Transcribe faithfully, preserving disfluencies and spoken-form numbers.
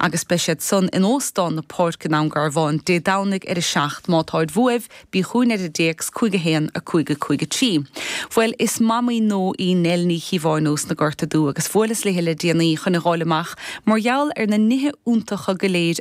Agus beidh siad san in Óstán na Páirce in Dún Garbhán Dé Domhnaigh ar a seacht má táid uaibh bí chugainn ar an dtéacs cúig a haon a cúig a cúig a trí. Bhuel is mamaí nua í Nell Ní Chíobháin ós na Gorta Dubha agus bhuaileas léi le déanaí chun a fháil amach mar gheall ar na nithe iontacha go léir